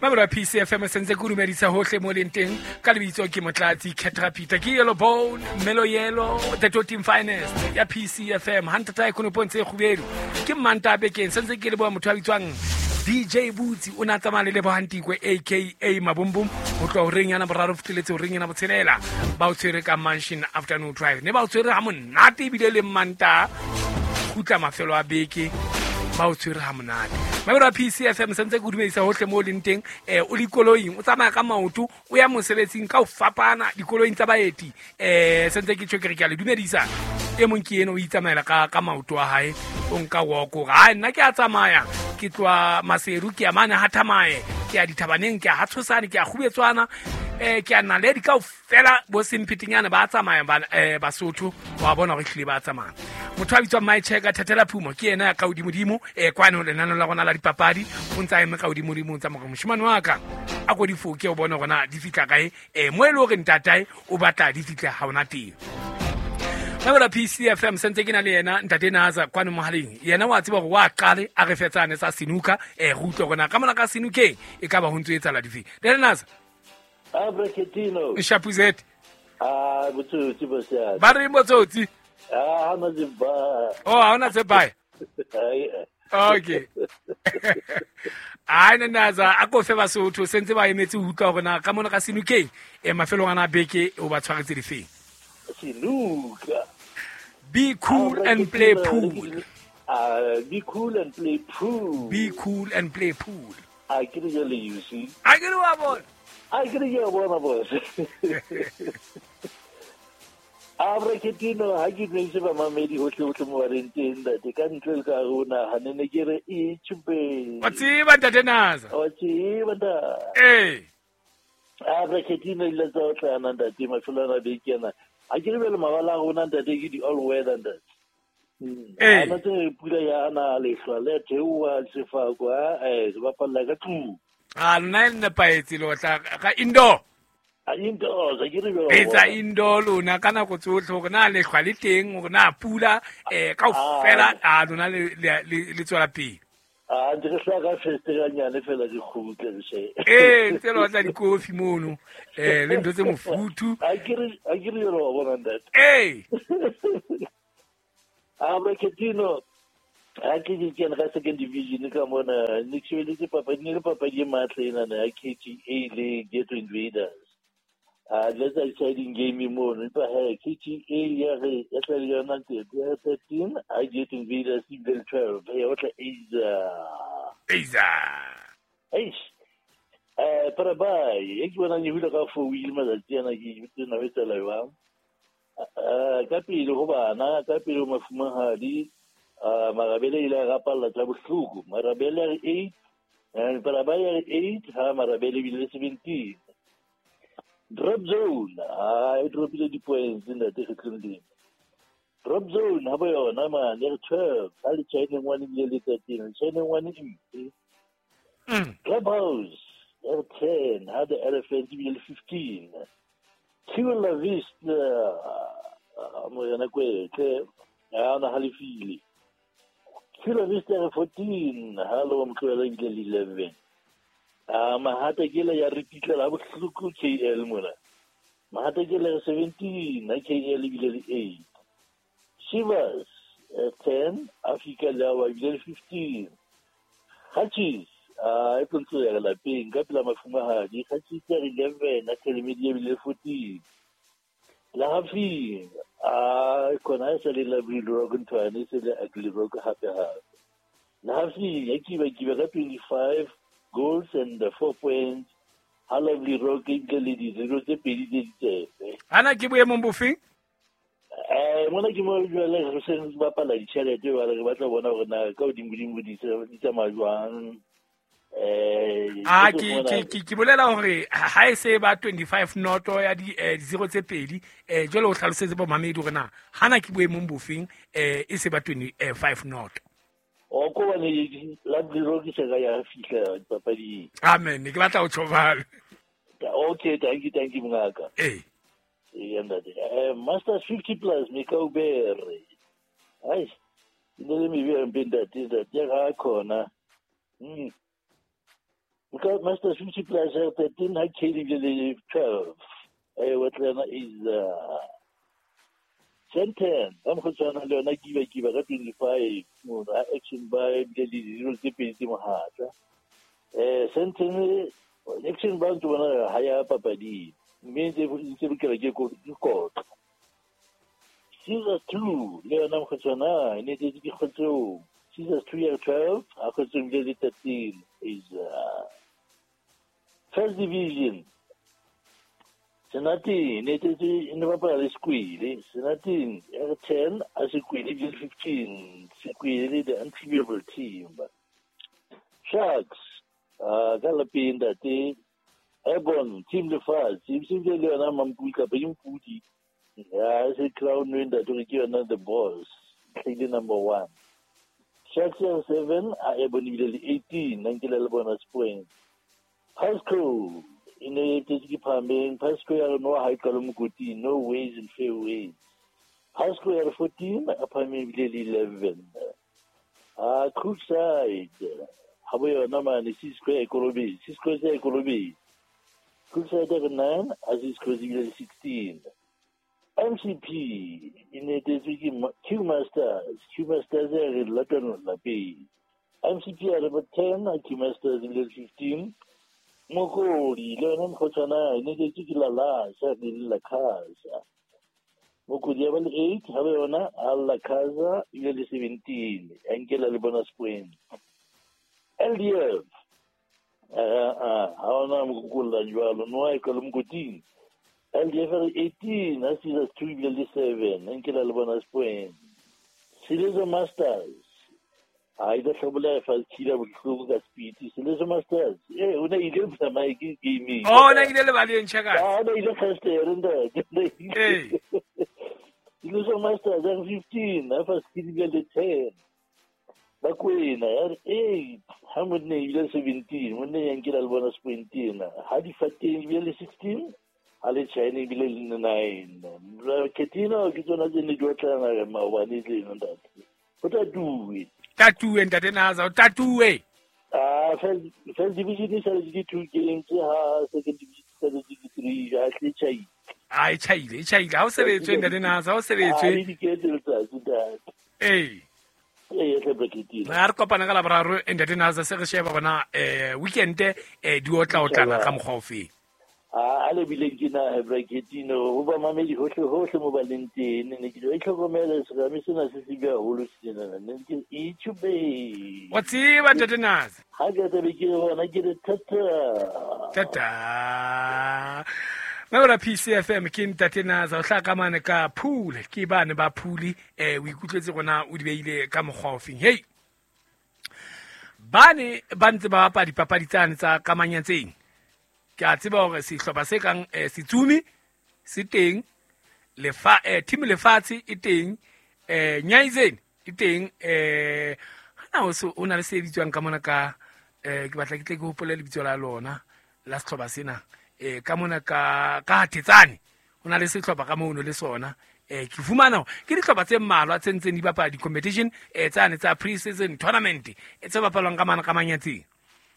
Mabelo a PCFM sentse ke o dumedisa hohle mo leng teng ka lebitso ke Motlatsi Caterpillar ke Yellow Bone Melo Yellow the Totin Finest ya PCFM hantata e konopong tse kgubedu ke mmanta bekeng sentse ke leboha motho a bitswang DJ Butsi o ne a tsamaya le Lebohantikwe aka Mabumbum ho tloha horeng yana boraro fitlheletse horeng yana botshelela ba o tshwere ka Mansion Afternoon Drive ne ba o tshwere ha monate ebile le mmanta kgutla mafelo a beke ba o tshwere ha monate. Mabelo a PCFM sentse ke o dumedisa hohle mo o leng teng, o le koloing o tsamaya ka maoto o ya mosebetsing ka ho fapana dikoloing tsa baeti, sentse ke tjho ke re ke a le dumedisa. E mong ke eno o itsamaela ka maoto a hae, o nka walk hore hai nna ke a tsamaya ke tloha Maseru ke ya mane ha Thamae, ke ya dithabaneng, ke ya ha Tshosane, ke ya Kgubetswana, ke ya Naledi kaofela bo semphetenyana ba tsamaya ba Basotho wa bona hore ehlile ba tsamaya. Motho a bitswang Mai Cheka Thathela Phumo ke yena ya ka hodimodimo, kwano lenaneo la rona la dipapadi o ntse a eme ka hodimodimo o ntse a mo re moshemane wa ka a ko difoke o bone hore na di fihla kae, mo e le hore ntatae o batla di fihle ha ona teng. Mabelo a PCFM sentse ke na le yena ntate Naza kwano mohaleng, yena wa tseba hore wa qale a re fetsane tsa senuka, re utlwe hore na ka mona ka senukeng e ka ba ho ntso etsahala dife. Ntate Naza. A Braketino. Shapuzet. A botsotsi bo siame. Ba re botsotsi. A ha na tse ba. Oh, ha ona tse ba. Okay. Ai Naza a ko fe Basotho sentse ba emetse ho utlwa hore na ka mona ka senukeng mafelong ana beke o ba tshwaretse difeng. Senuka. Be cool and play pool. Be cool and play pool. Be cool and play pool. A ke re jale you see. A ke re wa bona. A ke re ke a bona boss. A Braketino ha ke dumedise bamamedi hohle hohle mo ba leng teng ntate ka ntle le ka rona ha ne ne ke re e tjhupe. Wa tseba ntate Naza. Wa tseba ntate. Eh. A Braketino ile tsa otlana ntate mafelo ana beke ana. Ha ke re bele mabala a rona ntate ke di all weather ntate. Eh. Ana tse pula ya ana lehlwa le theoha sefako ha se bapalla ka tlung. A lona e nepahetse le otla ka indoor. A indoor, ke re jwalo. Etsa indoor lona ka nako tsohle hore na lehlwa le teng hore na pula kaofela a lona le tswela pele. A ntse re hlaka ka festere nyane fela di kgutle re she. Ntse le otla dikofi mono, le ntho tse mofuthu. A ke re jwalo wa bona ntate. A Braketino a ke ke kena ka second division ka mona ne ke shebeletse papadi ne le papadi e matla ena ya KTA le Ghetto Invaders. A let's exciting game mono empa he KTA ya re ya tla le yona tse ya 13 a Ghetto Invaders e bile 12 ya otla Asia. Asia. Eish. Parabai e ke bona ne hula ka fo wheel matsatsi ana ke tsena be tsela jwang. Ka pele ho bana ka pele ho mafumahadi Marabele ile a rapalla tsa bohloko. Marabele a re 8, Parabai a re 8, ha Marabele ebile 17. Drop zone, e dropile di-points ntate kgetlong lena. Drop zone ha bo yona mane re 12, ha le China one ebile le 13, China one e mpe. Clubhouse re 10, ha the Elephant ebile le 15. Chula Vista mo yona kwetle, ha na halefile. Chula Vista re 14, ha lo motlohela ebile le 11. Mahata ke le ya re pitlela bohloko KL mona. Mahata ke le 17, ha KL ebile le 8. Shivers 10, Africa le ebile le 15. Hutchis e tlontlo ya lapeng ka pela mafumahadi, Hutchis ya 11, ha Telemedia ebile le 14. La Hafi khona e sa le Lovely Rock nthwane e se le Ugly Rock hape hape. La Hafi ya kiba ka 25 goals and 4 points. Ha Lovely Rock e bile le di-zero tse pedi tse ditsepe. Ana ke boemong bofeng? Mona ke mo jwale re se re bapala ditjhelete jwale re batla ho bona hore na ka hodimodimo di tsamaya jwang. Ke bolela hore ha e se ba 25 noto ya di zero tse pedi, jwale o hlalosetse bo mamedi hore na hana ke boemong bofeng, e se ba 25 noto. O ko bane Lovely Rock se ka ya fihla dipapading. Amen, ke batla ho tjho jwalo. Okay, thank you mongaka. Eh. Ntate. Masters 50 plus Mekaubere. Ai. Ne le mebe mpe ntate, ntate ya ga khona. Master 50 plus 13 ha Kelly le 12. Wetlana is 10 ba mokgotshwana le yona kiba ka 25 mona action ba ebile le dilo tse pedi tse mohatla. Senten action ba ntse bona ha ya papading mme ntse lokela ke kotlo. Caesar 2 le yona mokgotshwana e ne tse ke kgotso. Caesar 2 ya 12 a kgotso ebile le 13 is first division. Senati ne tse ne bapala le Squeele. Senati ya 10 a Squeele ebile 15. Squeele the unbeatable team. Sharks ka lapeng ntate Ebon team lefatshe ebile le yona Mampudi kapa ke Mpudi ya se crown ntate ke yona the boss tlile number 1. Sharks ya 7 a Ebon ebile le 18 nankile le bonus point. Pasco in the department, Pasco no high column no ways and fair ways. Pasco 14, apparently 11. Crookside, Haboy Naman, Cisco Ecolobi, Cisco Ecolobi. Crookside 9, as is 16. MCP in the Q Masters, Q Masters Latin Lapi. MCP at about 10, Q Masters 15. Mokoli le yona mokgotshwana e ne ke ke la la sa le la casa. Mokoli ya ba le 8 ha ba yona a la casa ile le 17 a nkela le bonus point. LDF ha ona mokolla jwalo no e ka le mokoting. LDF 18 a Caesars 2 ile le 7 a nkela le bonus point. Silezo Masters a ile tlhobola fa tshila bohloko ka speed. Silezo Masters o ne ile tsamaya ke gaming. Oh na ile le baleng chaka. Ah na ile first year ntate. Silezo Masters 15 a fa tshila le 10. Bakwena ya 8 ha monne ile 17 monne ya nkela le bonus point ena. Ha di fateng ile le 16 ha le China ile le 9. Ketino ke tsona tse ne di otlana maobane le ntate. O tatuwe. Tatuwe ntate Naza, o tatuwe. First division e saletse ke 2 games ha second division e saletse ke 3 ha tle chaile. Ah e chaile. Ha o sebetswe ntate Naza, ha o sebetswe. Ah di ke letsatsi ntate. Eh. Eh tle braketile. Re kopana ka laboraro ntate Naza se re sheba bona weekend di otla ka mokgwa ofe. A le bile ke na braketino ho ba mamedi hohle mo ba leng teng ne ke e tlhokomela serame sena se se bia holo sena ne ke itshube. Wa tseba ntate Naza. Ha ke tla be ke bona ke re tata. Tata. Mabra PCFM ke ntate Naza o hla ka mane ka Phule ke bane ba Phule o ikutlwetse gona o di beile ka mokgwa ofeng. Hey. Bane ba ntse ba bapala dipapadi tsane tsa kamanyatseng. Ke a tseba hore sehlopha se kang Setsumi se teng, lefa team lefatshe e teng, Nyaizeni e teng, hana o na le se bitswang ka mona ka ke batla ke tle ke hopole lebitso la lona la sehlopha sena ka mona ka Thetsane o na le sehlopha ka mono le sona. Ke fumana ke dihlopha tse mmalwa tse ntseng di bapala di-competition tsane tsa pre-season tournament tse bapalwang ka mana ka manyatseng.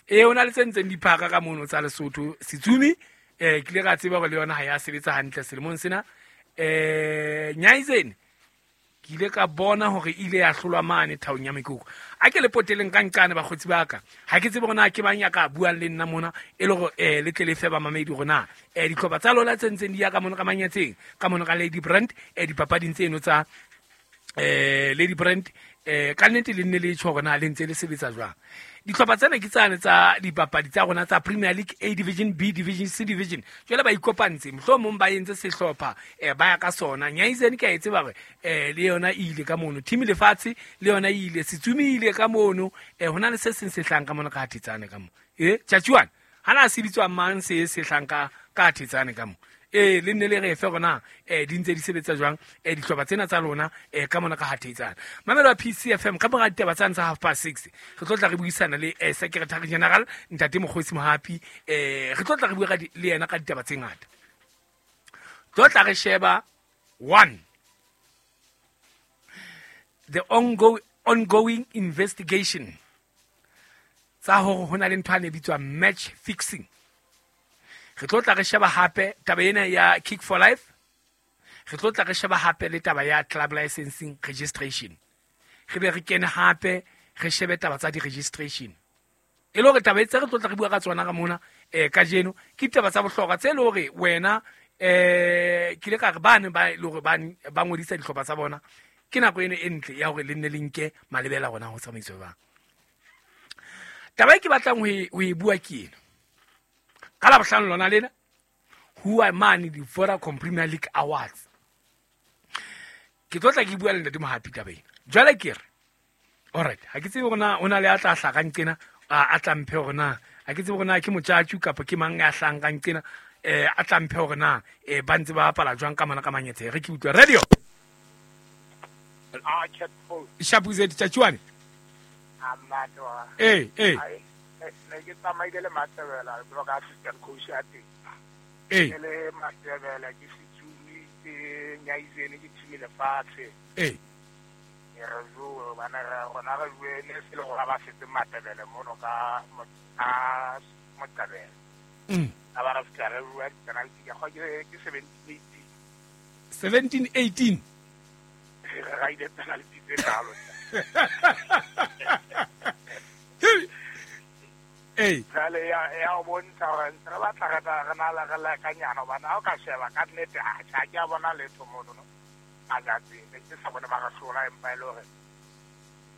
O na le tse ntseng di phaka ka mono tsa Lesotho. Setsumi ke ile ka tseba hore le yona ha ya sebetsa hantle selemong sena. Nyaizeni ke ile ka bona hore ile ya hlolwa mane thaong ya mekoko. A ke le poteleng ka nqane bakgotsi ba ka. Ha ke tsebe hore na ke mang ya ka buang le nna mona e le hore le tle le fe ba mamedi hore na dihlopha tsa lona tse ntseng di ya ka mono ka manyatseng ka mono ka Lady Brand dipapading tseno tsa Lady Brand ka nnete le nne le tjho hore na le ntse le sebetsa jwang. Dihlopha tsena ke tsane tsa dipapadi tsa rona tsa Premier League A Division, B Division, C Division. Jwale ba ikopantse mohlomong ba entse sehlopha ba ya ka sona. Nyaizeni ke a e tseba hore le yona e ile ka mono. Team lefatshe le yona e ile, Setsumi ile ka mono. Hona le se seng se hlang ka mono ka Thetsane ka mo. Tjatjuana hana se bitswa mang se se hlang ka Thetsane ka mo. Le nne le re fe rona di ntse di sebetsa jwang dihlopha tsena tsa lona ka mona ka Hathetsana. Mamelo ya PCFM ka mora ditaba tsane tsa 6:30 re tlo tla re buisana le Secretary General Ntate Mokgosi Mohapi re tlo tla re bua le yena ka ditaba tse ngata. Tlo tla re sheba 1 the ongoing investigation Tsa hore ho na le ntho e bitswang match fixing. Re tlo tla re sheba hape taba ena ya Kick for Life. Re tlo tla re sheba hape le taba ya club licensing registration. Re be re kene hape re shebe taba tsa di-registration. E le hore taba tse re tlo tla re bua ka tsona ka mona kajeno ke ditaba tsa bohlokwa tse le hore wena ke ile ka re bane ba le hore ba ngodisa dihlopha tsa bona ke nako eno e ntle ya hore le nne le nke malebela rona ho tsamaiso jwang. Taba e ke batlang ho e bua ke ena. Ka Labohlano lona lena ho mane di Vodacom Premier League Awards. Ke tlo tla ke bua le Ntate Mohapi taba ena. Jwale ke re alright, ha ke tsebe hore na o na le a tla hlakang tjena a tla mphe hore na ha ke tsebe hore na ke motjatju kapa ke mang ya hlahang tjena a tla mphe hore na ba ntse ba bapala jwang ka mona ka manyetse. Re ke utlwa radio. Shapuze Tjatjuane. Eh ne ke tsamaile le Matebela jwalo ka assistant coach ya teng. Eh le Matebela ke Setsumi ke Nyaizene ke team lefatshe. Eh re jo bana re rona re bue ne se le gore ba setse Matebele mono ka Motebele. A ba re fitla re bua penalty ke go ke 17 18 17 18 re ra ile penalty tse kalo. Ee jale ya o bontsha gore ntse re batla re na le re lekanyana hobane ha o ka sheba ka nnete ha ke a bona letho mono no majatseng ne ke sa bone ba re hlola empa e le hore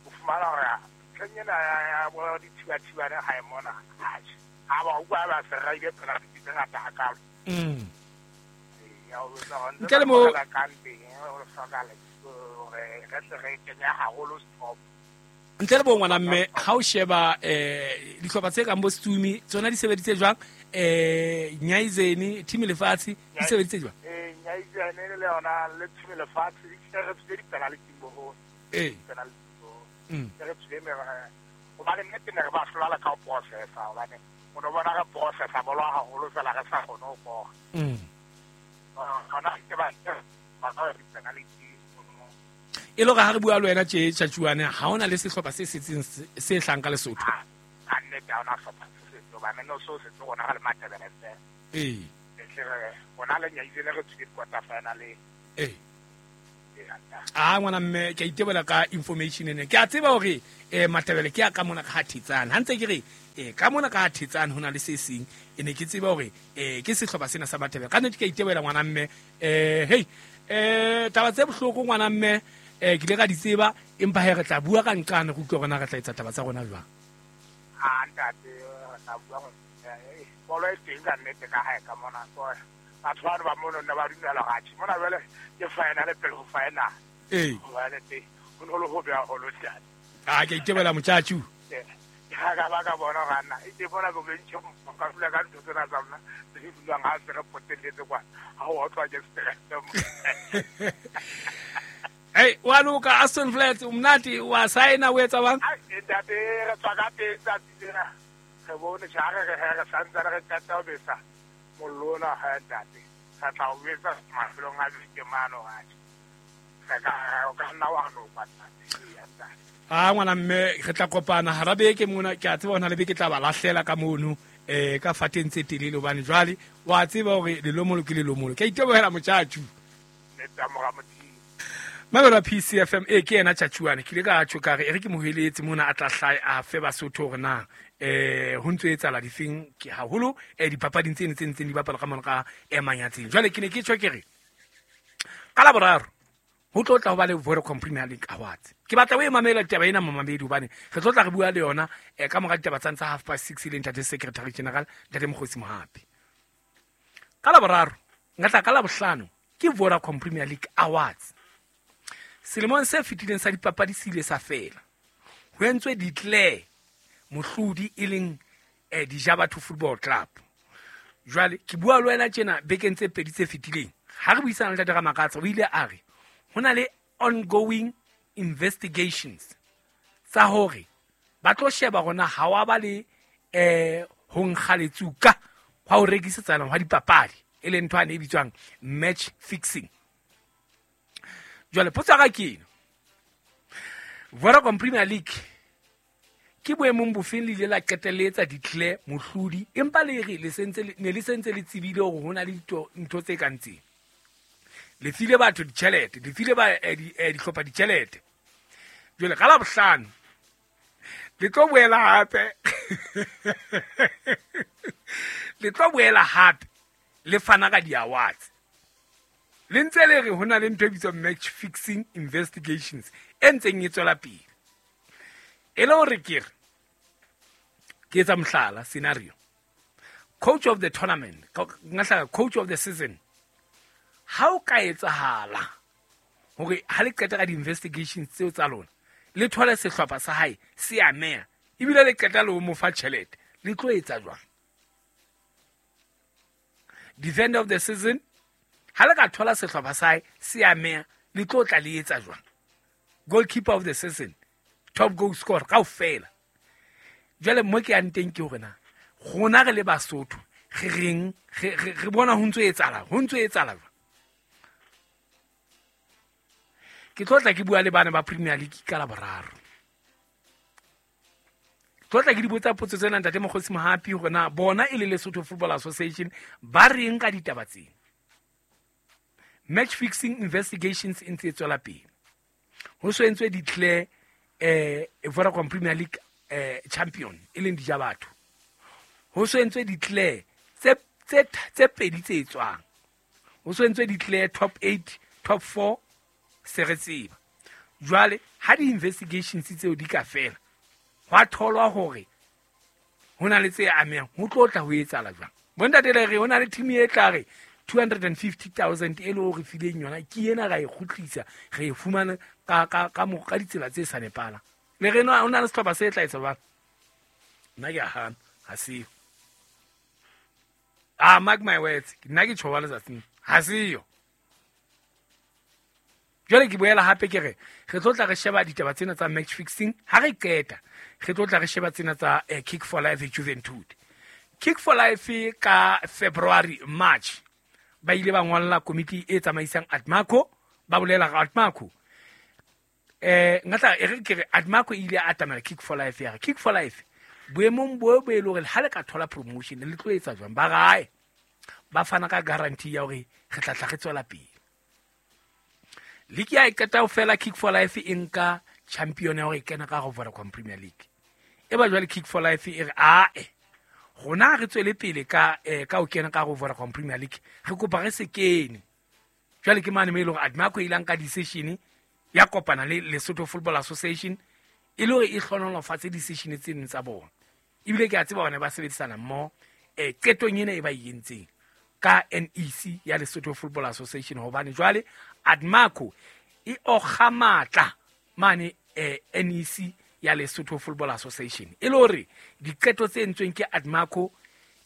o fumana hore ntlheng ena ya bo dithibathibane ha e mona ha ba utlwa ba se ra ile penalty tse ngata hakalo. Ya o etsa hore ntle le mo kang teng o hloka hore re tle re kenye haholo stop. Ntle le bo ngwana mme ha o sheba dihlopha tse kang bo Stumi tsona di sebeditse jwang Nyaizene team lefatshe di sebeditse jwang? Nyaizene le yona le team lefatshe di re tsile di-penalty boho. Penalty boho. Re tsile me hobane nnete ne re ba hlola ka ho processa hobane o no bona re processa bolo haholo fela re sa kgone ho kora. Hona ke ba ba di-penalty. E le hore ha re bua le wena tje Tjatjuane ha hona le sehlopha se setseng se hlang ka Lesotho. Ha nnete ha hona sehlopha se setseng hobane no so setse rona re le Matebele fela. Re rona le Nyaizene re tswile quarter final. Ah ngwana mme ke a itebola ka information ena. Ke a tseba hore Matebele ke a ka mona ka ha Thetsane. Ha ntse ke re ka mona ka ha Thetsane hona le se seng e ne ke tseba hore ke sehlopha sena sa Matebele. Ka nnete ke a itebola ngwana mme hey taba tse bohloko ngwana mme ke ile ka di tseba empa he re tla bua ka nqane go utlwa rona re tla etsa taba tsa rona jwang. Ha ntate re tla bua bolo e teng ka nnete ka hae ka mona so batho ba ba mono ne ba dumela ga mona jwale ke final pele ho final. Hobane teng ho no le ho be haholo ntate. Ah ke itebela motjatju. Ha ka ba ka bona ga nna e bona bo bentšhe ka dula ka ntho tsena tsa rona tse di dulang ha se re potelletse kwa ha o otlwa ke stress. Hey, wa loka Aston Flats umnati wa saina o etsa bang? Ntate re tswa ka teng tsatsi lena. Re bone tjare re re santse re qeta ho besa mollo ona ha ntate. Re tla o besa mafelong a beke mano ha. Re ka o ka nna wa no kwa ntate. Ah ngwana mme re tla kopana hara beke mona ke a tseba hona le beke tla ba lahlela ka mono ka fateng tse telele hobane jwale wa tseba hore lelomolo ke lelomolo. Ke a itebohela motjatju. Nete mora Modimo. Mamelo PCFM ke yena Tjatjuane ke ile ka tjho ka re e re ke moheletse mona a tla hlae a fe Basotho hore na ho ntso etsahala difeng ke haholo dipapading tsene tse ntseng di bapala ka mona ka Manyatseng. Jwale ke ne ke tjho ke re ka Laboraro ho tlo tla ho ba le Vodacom Premier League Awards. Ke batla o e mamela taba ena mamamedi hobane re tlo tla re bua le yona ka mora ditaba tsa 6:30 le ntate Secretary General ntate Mokgosi Mohapi. Ka Laboraro nka tla ka Labohlano ke Vodacom Premier League Awards. Selemong se fetileng sa dipapadi se ile sa fela. Ho entswe declare mohlodi e leng Dijabatho Football Club. Jwale ke bua le wena tjena bekeng tse pedi tse fetileng. Ha re buisana le Ntate Ramakatsa o ile a re ho na le ongoing investigations tsa hore ba tlo sheba rona ha wa ba le ho nkga letsuka hwa ho rekisetsana hwa dipapadi e leng ntho ane e bitswang match fixing. Jwale potso ya ka ke ena. Vodacom Premier League Ke boemong bofeng le ile la qetelletsa declare mohlodi, empa le re le sentse ne le sentse le tsebile hore ho na le ntho tse kang tsena. Le file batho ditjhelete, le file ba dihlopha ditjhelete. Jwale ka Labohlano le tlo boela hape. Le tlo boela hape le fana ka di-awards. Le ntse le re ho na le ntho e bitswang match fixing investigations e ntseng e tswela pele. E le hore ke re ke etsa mohlala scenario. Coach of the tournament, nka coach of the season. Ha o ka etsahala hore ha le qeta ka di-investigations tseo tsa lona, le thole sehlopha sa hae se ameha, ebile le qeta le ho mo fa tjhelete, le tlo etsa jwang? Defender of the season, ha le ka thola sehlopha sa hae se ameha, le tlo tla le etsa jwang? Goalkeeper of the season, top goal scorer kaofela. Jwale mo ke yang teng ke hore na rona re le Basotho re reng, re bona ho ntso etsahala, ho ntso etsahala jwang? Ke tlo tla ke bua le bana ba Premier League ka Laboraro. Tlo tla ke di botsa potso tsena ntate Mokgosi Mohapi hore na bona e le Lesotho Football Association ba reng ka ditaba tsena. Match fixing investigations e ntse e tswela pele. Ho so entswe declare Vodacom Premier League champion e leng Dijabatho. Ho so entswe declare tse pedi tse tswang. Ho so entswe declare top 8, top 4 se re tseba. Jwale ha di-investigations tseo di ka fela, hwa tholwa hore ho na le tse amehang, ho tlo tla ho etsahala jwang? Bontate le re ho na le team e tla re 250,000 e le hore fileng yona ke ena ra e kgutlisa, re e fumana ka ditsela tse sa nepahalang. Le re ho na le sehlopha se tla etsa jwang? Nna ke a hana, ha seo. Mark my words, nna ke tjho letsatsing, ha seo. Jwale ke boela hape ke re re tlo tla re sheba ditaba tsena tsa match fixing. Ha re qeta re tlo tla re sheba tsena tsa Kick for Life Juventud. Kick for Life ka February, March ba ile ba ngolla komiti e tsamaisang Admaco, ba bolela ka Admaco. Ngatla e re ke re Admaco e ile a atamela Kick for Life ya re Kick for Life boemong bo bo e le hore ha le ka thola promotion le tlo etsa jwang? Ba rae ba fana ka guarantee ya hore re tla tla re tswela pele. League ya e qeta ho fela, Kick for Life e nka champion ya hore e kena ka ho Vodacom Premier League. E ba jwale Kick for Life e re ae rona re tswele pele ka ho kena ka ho Vodacom Premier League, re kopa re se kene. Jwale ke mane mo e leng hore Admaco e ile nka decision ya kopana le Lesotho Football Association e le hore e hlohonolofatse decision tse neng tsa bona. Ebile ke a tseba hore ba sebedisana mmoho qetong ena e ba e entseng ka NEC ya Lesotho Football Association, hobane jwale Admaco e okga matla mane NEC ya Lesotho Football Association. E le hore diqeto tse entsweng ke Admaco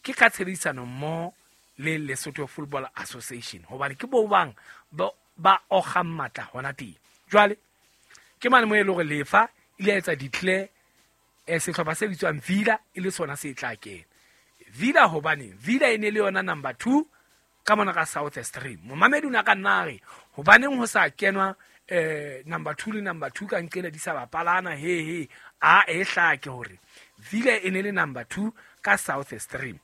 ke ka tshebedisano mmoho le Lesotho Football Association, hobane ke bo bang ba okgang matla hona teng. Jwale ke mane mo e le hore Lefa ile etsa declare sehlopha se bitswang Villa e le sona se tla kena. Villa hobane Villa e ne le yona number 2 ka mona ka South Stream. Momamedi o na ka nna re hobaneng ho sa kenwa number 2 le number 2 ka nqela di sa bapalana he a e hlake hore Villa e ne le number 2 ka South Stream.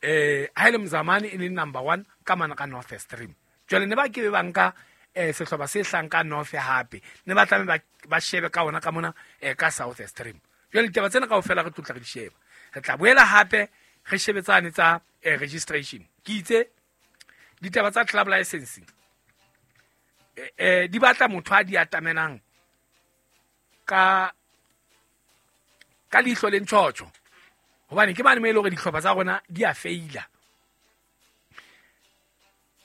Ha ile Mzamane e ne le number 1 ka mona ka North Stream. Jwale ne ba ke be ba nka sehlopha se hlang ka North hape ne ba tlameha ba shebe ka ona ka mona ka South Stream. Jwale ditaba tsena kaofela re tlotla re di sheba. Re tla boela hape re shebetsane tsa registration. Ke itse ditaba tsa club licensing di batla motho a di atamelang ka leihlo le ntjhotjho, hobane ke mane mo e le hore dihlopha tsa rona di a feila.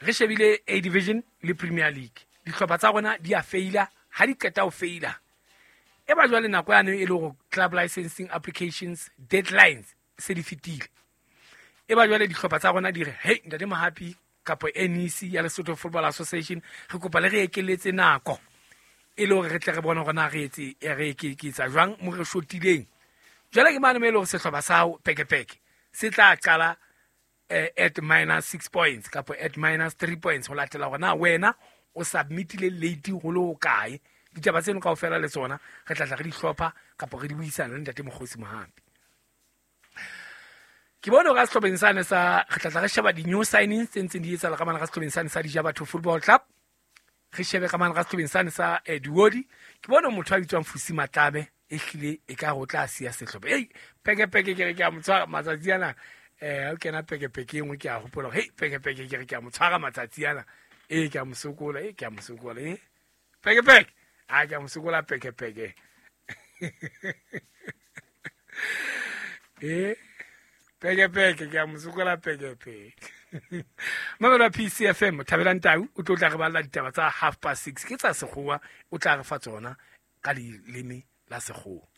Re shebile A Division le Premier League, dihlopha tsa rona di a feila. Ha di qeta ho feila e ba jwale nako yane e le hore club licensing applications deadlines se di fetile. E ba jwale dihlopha tsa rona di re hey ntate Mohapi kapo NEC ya Lesotho Football Association re kopa le re ekeletse nako e le hore re tle re bone hore na re etse re ke etsa jwang mo re shotileng. Jwale ke mane mo e le hore sehlopha sa hao pekepeke se tla qala at minus 6 points kapo at minus 3 points ho latela hore na wena o submitile late ho le hokae Ditaba tseno kaofela le tsona re tla tla re di hlopha kapa re di buisana le ntate Mokgosi Mohapi. Ke bone hore ka sehlopheng sane sa re tla tla re sheba di-new signings tse ntseng di etsahala ka mane ka sehlopheng sane sa Dijabatho Football Club. Re shebe ka mane ka sehlopheng sane sa Duodi. Ke bone motho a bitswang Fusi Matlabe e hlile e ka re o tla siya sehlopha. Ei, pekepeke ke re ke a mo tshwara matsatsi ana. O kena pekepeke e nngwe ke a hopola hore, hei, pekepeke ke re ke a mo tshwara matsatsi ana. Ee, ke a mo sokola, ee, ke a mo sokola, ee. Pekepeke. A ke a mo sokola pekepeke. Ee, pekepeke ke a mo sokola pekepeke. Mamelo ya PCFM, Thabelang Tau o tlo tla re balla ditaba tsa 6:30 ke tsa sekgowa, o tla re fa tsona ka leleme la sekgowa.